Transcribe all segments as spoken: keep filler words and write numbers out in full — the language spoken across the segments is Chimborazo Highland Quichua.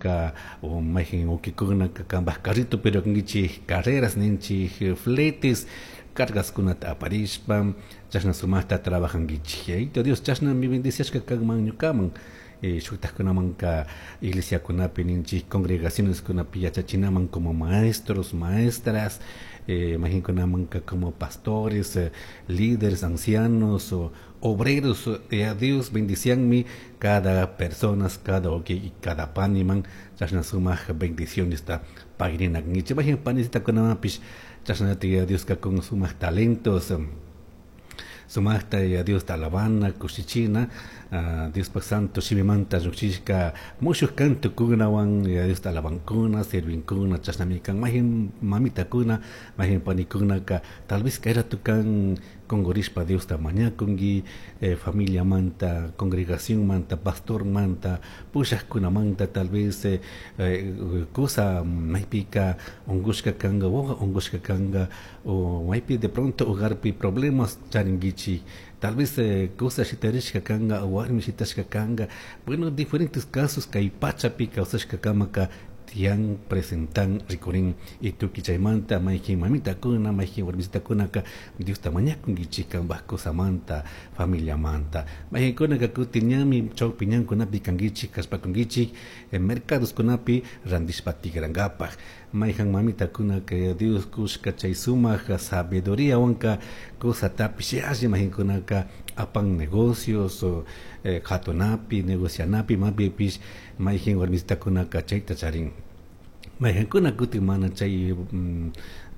Kanka o mayqin wawqikunaka kanpaq carrito pero kankichik carreras ninchik fletes cargaskunata aparishpa chashna sumaqta trabajankichik. Yayito Dios chashnami bendiciashka kanman ñukaman eh, shuktakkunamanka iglesiakunapi ninchik congregacioneskunapi yachachinaman como maestros, maestras, eh, mayqinkunamanka como pastores, eh, líderes, ancianos o obreros, eh, Dios bendicianmi cada personas, cada wawqi y cada paniman chashna sumaq bendicionesta pagrina kankichik. Mayqin panisitakunamanpish chashnata Dioska con sumaq talentos sumaqta ya Diosta alabana, kushichina, uh, Diospaq santo shimimanta lluqshishka mushuq cantokunawan ya Diosta alabankuna, sirvinkuna, chashnami kan mayqin mamitakuna, mayqin panikunaka tal vez kay rato kan qunqurishpa Diosta mañakunki, eh, familiamanta, congregacionmanta, pastormanta, pushaqkunamanta tal vez eh, eh, kusa maypika unqushka kanka, wawa unqushka kanka o maypi de pronto hogarpi problemas charinkichik, tal vez eh, kusa shitarishka kanka o warmi shitashka kanka, bueno, diferentes casos kay pachapi kawsashka kamaka tiyan presentan rikurin y tukuy chaymanta mayqin mamitakuna mayqin warmisitakunaka Diosta mañakunkichik kanpaq kusamanta familiamanta mayqinkunaka kutin ñami chawpi ñankunapi kankichik kallpakunkichik eh, mercadoskunapi rantishpa tikrankapaq mayqan mamitakunaka Dios kushka chay sumaq sabiduriawanka kusatapish yalli mayqinkunaka apan negocios o eh, qhatunapi negocianapi mapipish mayqin warmisitakunaka chayta charin mayqankuna kutin mana chay mm,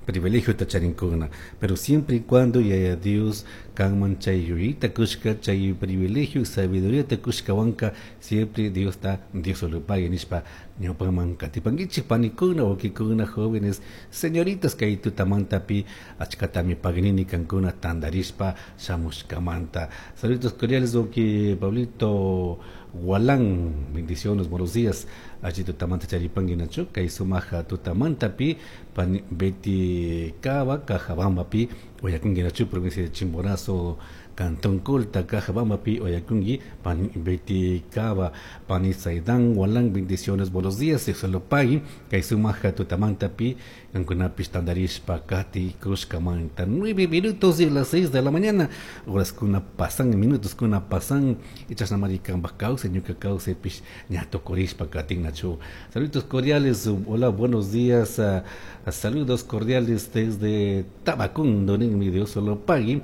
privilegiota charinkuna pero siempre y cuando yaya Dios kanman chay yuyayta kushka chay privilegio sabiduriata kushkawanka siempre Diosta Diosolopagui nishpa ñawpaman katipankichik panikuna wawqikuna jóvenes señoritas kay tutamantapi achkatami paginini kankuna tantarishpa shamushkamanta. Saludos cordiales wawqi Pablito Gualán, bendiciones, buenos días. Allí tutamanta charipanki nachu kay sumaq tutamantapi pani Betty Cava Cajabambapi uyakunki nachu provincia de Chimborazo Cantón Colta Cajabambapi uyakunki pani Betty Cava pani Saidán Gualán, bendiciones, buenos días. Solo pagui kay sumaq tutamantapi kankunapish tantarishpa kati kushkamanta nueve minutos de las seis de la mañana horas kuna pasan minutos kuna pasan y chashnamari kanpaq kawsay ñuka kawsaypish ña tukurishpa katin nachu. Saludos cordiales, hola, buenos días, uh, saludos cordiales desde Tabacundo ninmi Dios solo pagui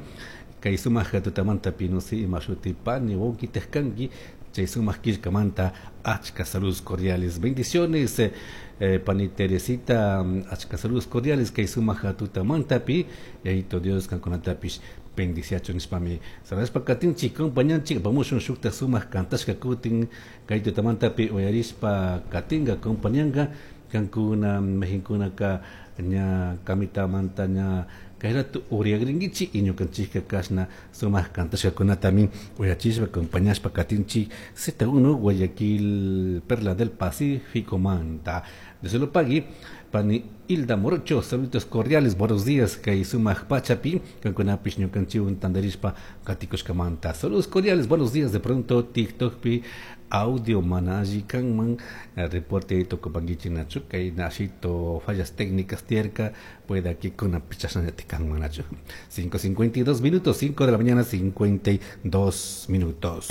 kay sumaq tutamantapi no sé ima shuti pani wawqitaq kanki chay sumaq killkamanta achka saludos cordiales, bendiciones, eh, eh, pani Teresita, achka saludos cordiales kay sumaq tutamantapi yayito Dios kankunatapish bendiciachun nishpami saludashpa katinchik compañanchik apamushun shukta sumaq kantashka kutin kay tutamantapi uyarishpa katinka compañanka kankuna mayqinkunaka ña kamitamanta ña kay rato uriagrinkichik y ñukanchikka kashna sumaq kantashkakunatami uyachishpa acompañashpa katinchik Z uno Guayaquil, Perla del Pacífico manta. Dios pagui pani Hilda Morocho, saludos cordiales, buenos días kay sumaq pachapi kankunapish ñukanchikwan tantarishpa katikushkamanta. Saludos cordiales, buenos días. De pronto TikTokpi audio mana alli kanman, reporte tukupankichik nachu kay nashito fallas técnicas tiyarka pueda que kunapish chashnallati kanman nachu. cinco cincuenta y dos minutos, cinco de la mañana cincuenta y dos minutos.